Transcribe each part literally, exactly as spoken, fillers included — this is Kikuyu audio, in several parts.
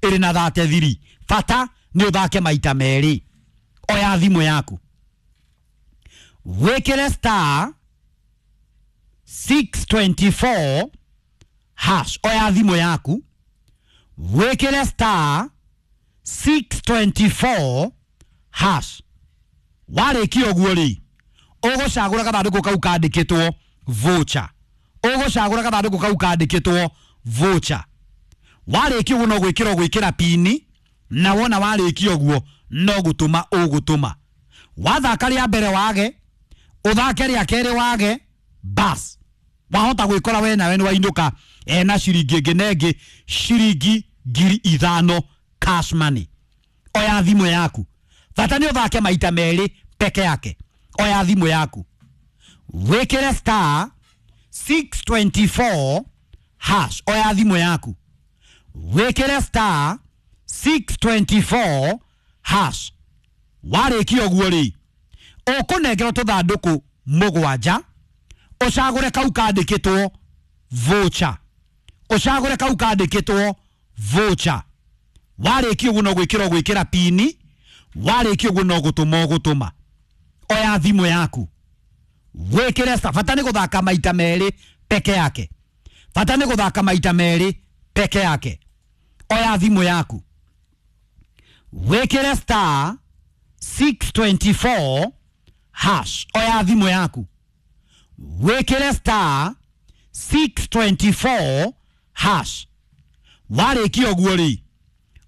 ĩrĩ na thate thiri. Bata nĩ ũthake maita merĩ. Oya thimũ yaku, wĩkĩre star six twenty-four hash. Oya thimũ yaku, wĩkĩre star six twenty-four hash. Warĩkia ũguo rĩ, ũgũcagũra gathandũkũ kau kandĩkĩtwo voucher. Ũgũcagũra gathandũkũ kau kandĩkĩtwo voucher. Warĩkia ũguo no gwĩkĩra ũgwĩkĩra pini, na wona warĩkia ũguo no gũtũma ũgũtũma. Wathaka rĩa mbere wage, ũthake rĩa kerĩ wage, bas wahota gwĩkora we nawe nĩ wainũka ena ciringi ĩngĩ na ĩngĩ, ciringi ngiri ithano cash money. Oya thimũ yaku, bata nĩ ũthake maita merĩ peke yake. Oya thimũ yaku, wĩkĩre star six twenty-four hash. Oya thimũ yaku, wĩkĩre star six twenty-four hash. Warĩkia ũguo rĩ, ũkũnengerwo tũthandũkũ mũgwanja, ũcagũre kau kandĩkĩtwo voucher. Ũcagũre kau kandĩkĩtwo voucher. Warĩkia ũguo no gwĩkĩra ũgwĩkĩra pini, warĩkia ũguo no gũtũma ũgũtũma. Oya thimũ yaku, wĩkĩre star. Bata nĩ gũthaka maita merĩ peke yake. Bata nĩ gũthaka maita merĩ peke yake. Oya thimũ yaku, wĩkĩre star six twenty-four hash. Oya thimũ yaku, wĩkĩre star six twenty-four hash. Warĩkia ũguo rĩ,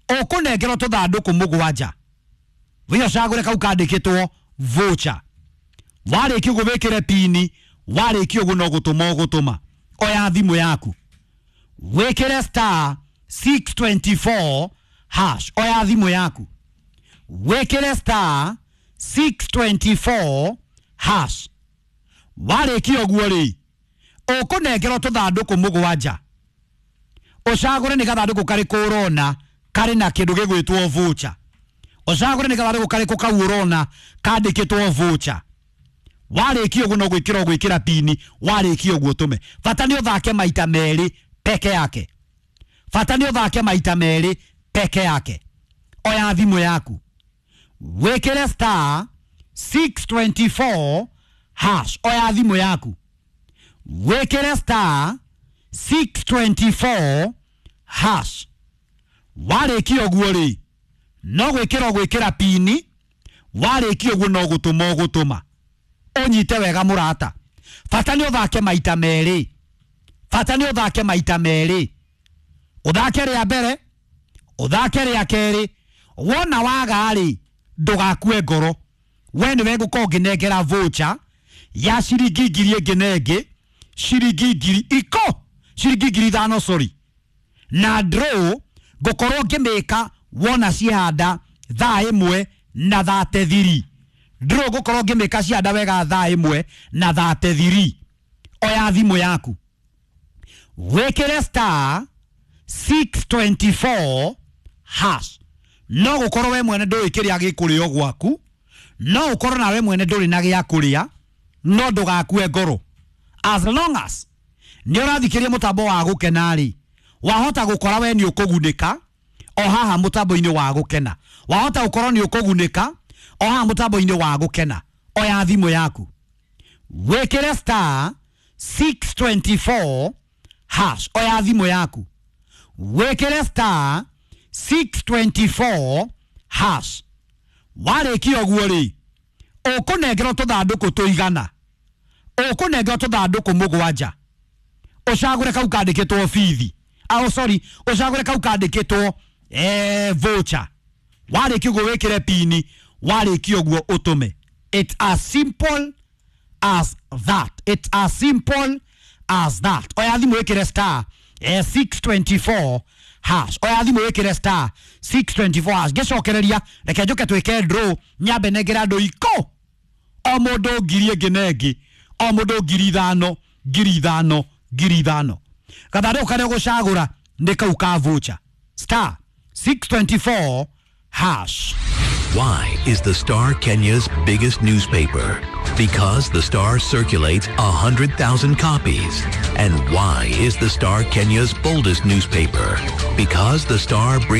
ũkũnengerwo tũthandũkũ mũgwanja, wĩ ũcagũre kau kandĩkĩtwo voucher. Warĩkia ũguo wĩkĩre pini, warĩkia ũguo no gũtũma ũgũtũma. Oya thimũ yaku, wĩkĩre star six twenty-four hash. Oya thimũ yaku, wĩkĩre star six twenty-four hash. Warĩkia ũguo rĩ, ũkũnengerwo tũthandũkũ mũgwanja, ũcagũre nĩ gathandũkũ karĩkũ ũrona karĩ na kĩndũ gĩgwĩtwo voucher. Ũcagũre nĩ gathandũkũ karĩkũ kau ũrona kandĩkĩtwo voucher. Warĩkia ũguo no gwĩkĩra ũgwĩkĩra pini, warĩkia ũguo ũtũme. Bata nĩ ũthake maita merĩ peke yake. Bata nĩ ũthake maita merĩ peke yake. Oya thimũ yaku, wĩkĩre star six twenty-four hash. Oya thimũ yaku, wĩkĩre star six twenty-four hash. Warĩkia ũguo rĩ, no gwĩkĩra ũgwĩkĩra pini, warĩkia ũguo no gũtũma ũgũtũma. Ũnyite wega mũrata, bata nĩ ũthake maita merĩ. Bata nĩ ũthake maita merĩ. Ũthake rĩa mbere, ũthake rĩa kerĩ. Wona waga rĩ, ndũgakue ngoro. We nĩwe ngũkorwo ngĩnengera voucher ya ciringi ngiri ĩngĩ na ĩngĩ, ciringi ngiri iko, ciringi ngiri ithano sorry. Na draw ngũkorwo ngĩmĩka wona cihanda thaa ĩmwe na thate thiri. Draw ngũkorwo ngĩmĩka cihanda wega thaa ĩmwe na thate thiri. Oya thimũ yaku, wĩkĩre star six twenty-four hash. No gũkorwo we mwene ndũĩ kĩrĩa gĩkũrĩo gwaku, no ũkorwo nawe mwene ndũrĩ na gĩa kũrĩa, no ndũgakue ngoro. As long as nĩ ũrathikĩria mũtambo wa gũkena rĩ, wahota gũkora we nĩ ũkũgunĩka o haha mũtambo-inĩ wa gũkena. Wahota gũkorwo nĩ ũkũgunĩka o haha mũtambo-inĩ wa gũkena. Oya thimũ yaku, wĩkĩre star six twenty-four hash. Oya thimũ yaku, wĩkĩre star six twenty-four hash. Warĩkia ũguo rĩ, ũkũnengerwo tũthandũkũ tũigana, ũkũnengerwo tũthandũkũ mũgwanja, ũcagũre kau kandĩkĩtwo bithi. Oh sorry, ũcagũre kau kandĩkĩtwo eh voucher. Warĩkia ũguo wĩkĩre pini, warĩkia ũguo ũtũme. It's as simple as that. It's as simple as that. Oya thimũ wĩkĩre star eh, six twenty-four hash. Oya thimũ wĩkĩre star six twenty-four hash. Ngĩcokereria, reke njũke twĩke draw, nyambe nengere andũ iko o mũndũ ngiri ĩngĩ na ĩngĩ, o mũndũ ngiri ithano, ngiri ithano, ngiri ithano. Gathandũkũ karĩa ũgũcagũra nĩ kau ka voucher. Star six twenty-four hash. Why is the Star Kenya's biggest newspaper? Because the Star circulates a hundred thousand copies. And why is the Star Kenya's boldest newspaper? Because the Star brings